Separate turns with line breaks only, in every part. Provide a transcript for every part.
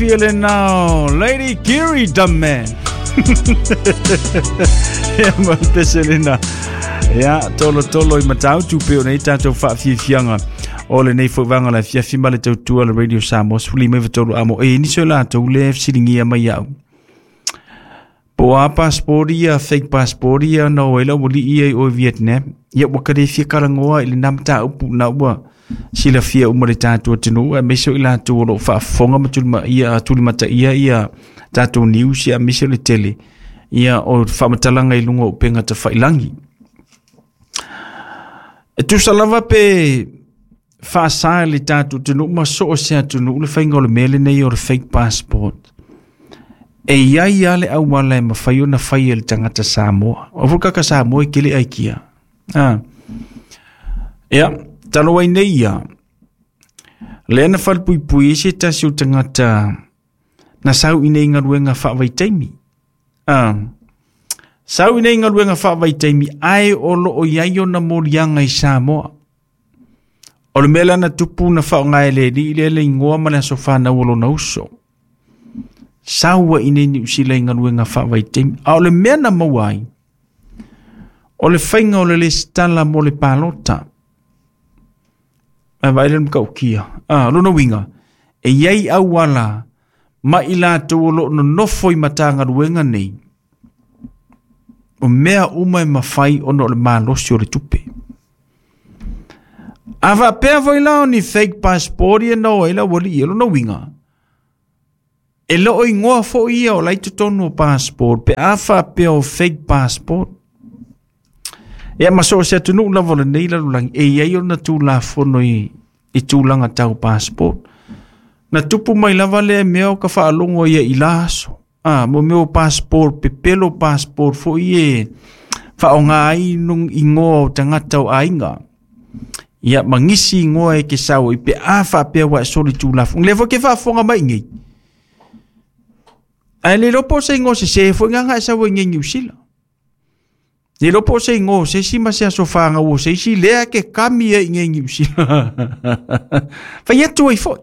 matagofie lena o Lady Kiri Dumman. Ia ma le pese lena. Ia, tolo tolo i Matautu pei ona i tatou faafiafiaga o lenei foi vaega o le afiafi ma le tautua le Radio Samoa 13 amo e nisi o latou le fesiligia mai au. Po o a passport ia, fake passport ia na o ai le aualii ia i o i Vietnam. Ia ua ka le fia talanoa i lena mataupu na ua silafia uma le tatou atunuu aemaise o i latou o lo o faafofoga ma tulimaia, tulimataia ia tatou news ia aemaise o le tele ia o faamatalaga i luga o upega tafailagi. E tusa lava pe faasa e le tatou atunuu ma so o se atunuu le faiga o le mea lenei o le fake passport. E i ai lava le auala e mafai ona fai e le tagata Samoa. O foi kaka Samoa e kele aikia. Ah. Ia, talo ai nei ia. Lea na falepuipui ai se tasi o tagata na sau i nei galuega faavaitaimi. Ah. Sau i nei galuega faavaitaimi ae o lo o i ai ona moliaga i Samoa. O le mea lea na tupu na faaaoga e le alii lea le igoa ma le aso fanau o lona uso. Sau ai i nei Niu Sila i galuega faavaitaimi. A o le mea na maua ai, o le faiga o le lesitala mo le palota. Ae vaai le matautia. Ah, lona uiga, e i ai auala ma i latou o lo o nonofo i Matagaluega nei, o mea uma e mafai ona o le malosi o le tupe. A faapea foi la o ni fake passport ia na o ai le aualii, o lona uiga, e le o igoa foi ia o la i totonu o passport pe a faapea o fake passport. Ia ma so o se atunuu lava o lenei lalolagi, e i ai ona tulafono i tulaga tau passport. Na tupu mai lava lea mea o ka faalogo ia i la aso. Ah, mo mea o passport, pepelo passport foi e faaaoga ai igoa o tagata o aiga. Ia, ma nisi igoa e ke sau i pe a faapea ua e soli tulafono. Lea foi ke faafofoga mai nei. Ae le iloa po o se igoa sese foi nga e sau ai nei Niu Sila. Le iloa po o se igoa o se isi ma se aso fanau o se isi lea ke kami ai nei Niu Sila. Fai atu ai foi.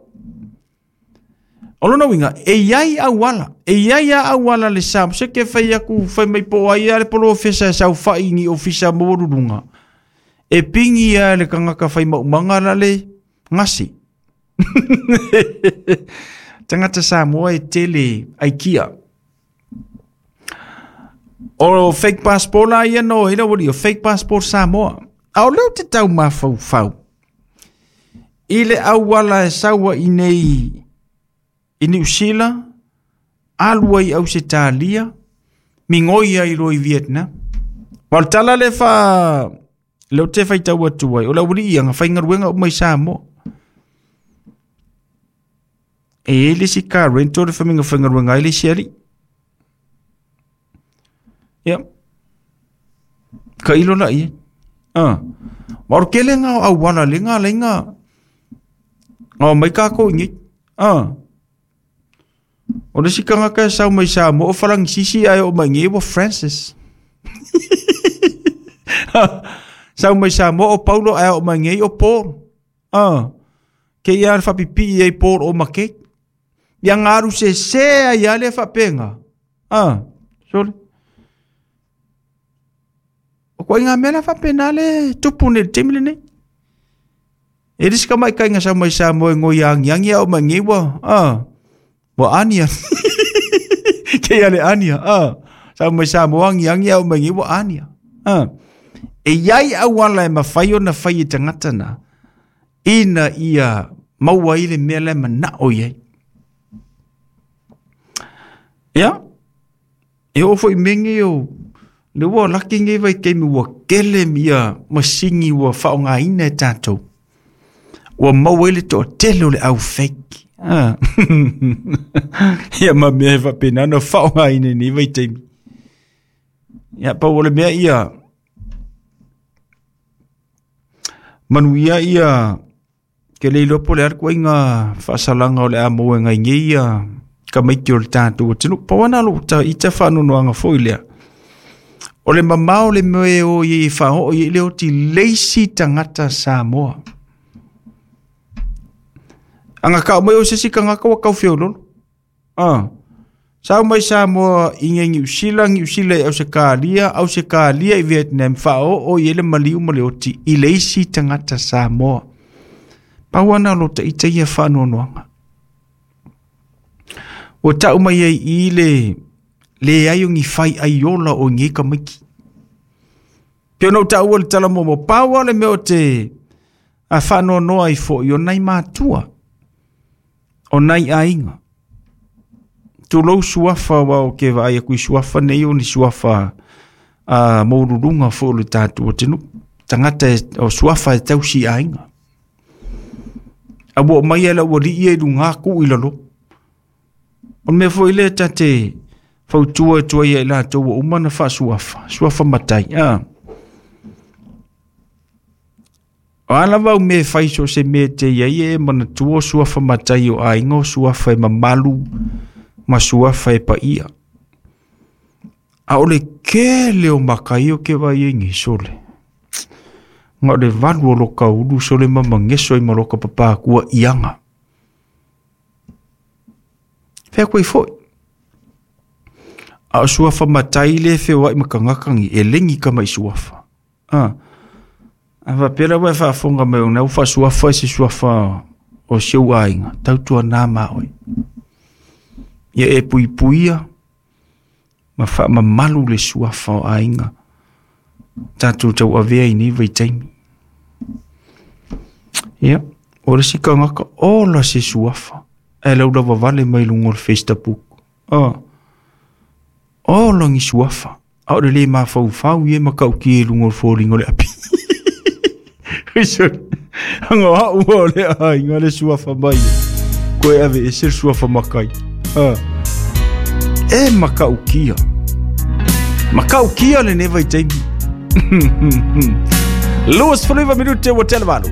O lona uiga, e i ai auala, e i ai a auala le sa, se ke fai aku, fai mai po o ai a le polofesa e saofai i ni ofisa maualuluga, e pingi a le kangaka fai maumaga la le gasi. Tagata Samoa e tele aikia. O fake passport la ia no, ina wali, o fake passport Samoa. A o leo te tau mafaufau. I le auala e sau ai nei i Niu Sila, alu ai i Ausetalia, migoi ai loa i Vietnam. Ma o le tala lea fa lea ou te faitau atu ai, o le aualii ia na faigaluega uma i Samoa. E i ai le isi car rental le faiga faigaluega ai le isi alii. Ia. Ka ilo la ia. Ah. Ma o le tele ngā o auala le ngā lai ngā ngā o mai kākou i nei. Ah. O le isi kangaka e sau mai Samoa o Falangisisi ae o mai nei ua Francis. Sau mai Samoa o Paulo ae o mai nei o Paul. Ah. Ke ia le whapipii ai Paul o make. Ia ngaru se se ai a le whapenga. Ah. Sorry. O koe ngā mea la whapena le tupu nei le taimi lenei. E risi ka mai kainga sa mai sa moe ngoi angi angi au mai ngei wa. Ah. Wa ania. Ke ia le ania. Ah. Sa mai sa moe angi angi au mai ngei wa ania. Ah. E iai auala e mawhai ona whai e tangata na. Ina ia maua i le mea le manao i ai. Ia, e oo foi mea nei o le ua laki nei vaitaimi ua tele ia masini ua faaaogaina e tatou. Ua maua ai le toatele o le au fake. Ah. Ia ma mea e faapena ona faaaogaina i nei vaitaimi. Ia, pau o le mea ia, manuia ia Ke le iloa po o le a le ituaiga faasalaga o le a maua e nai nei ia tamaiti o le tatou atunuu. Pau lava lena o lou ita faanoanoaga foi lea. O le mamao o le mea e o i ai e faaoo i ai le oti i le isi tagata Samoa. A na tau mai o se isi tagata ua tau feololo. Sau mai Samoa i ngai Niu Sila, Niu Sila i Ausetalia, Ausetalia i Vietnam, faaoo i ai le maliu ma le oti i le isi tagata Samoa. Pau ana o lo taita ia faanoanoaga. Ua tau mai ai i le leai o ni fai aiola o nei tamaiti. Pe ona ou taua le tala muamua, pau lava le mea o te a faanoanoa ai foi o nai matua, o nai aiga. Tulou suafa aua ou te vaai atu i suafa nei o ni suafa a maualuluga foi o le tatou atunuu. Tagata o suafa e tausi aiga. A ua oo mai e le aualii ia i luga tuu i lalo. O le mea foi lea ta te fautua atu ai ia i latou ua uma ona faasuafa, suafa matai, a. O a lava au mea e fai so o se mea e te i ai e manatua o suafa matai o aiga o suafa e mamalu ma suafa e paia. A o le tele o maka ia ou te vaai ai nei sole. Na o le valu o loka ulu sole ma mageso ai ma loka papakua i aga. Fea koe foi. A o suafa matai le feoai ma tagata nei, e legi tama i suafa. A faapea la ua e faafofoga mai o lena ua faasuafa i se suafa o si ou aiga, tautuana ma oe. Ia e puipuia ma faamamalu le suafa o aiga tatou tauavea i nei vaitaimi. Ia, o le isi tagata ola se suafa ae laulavavale mai luga o le Facebook. Ola ni suafa, a o le le mafaufau ia ma matautia i luga o le foliga o le api. Anga o au o le aiga le suafa mai. Koe ave ese le suafa matai. E matautia. Matautia lenei vaitaimi. 29 minute ua tele valu.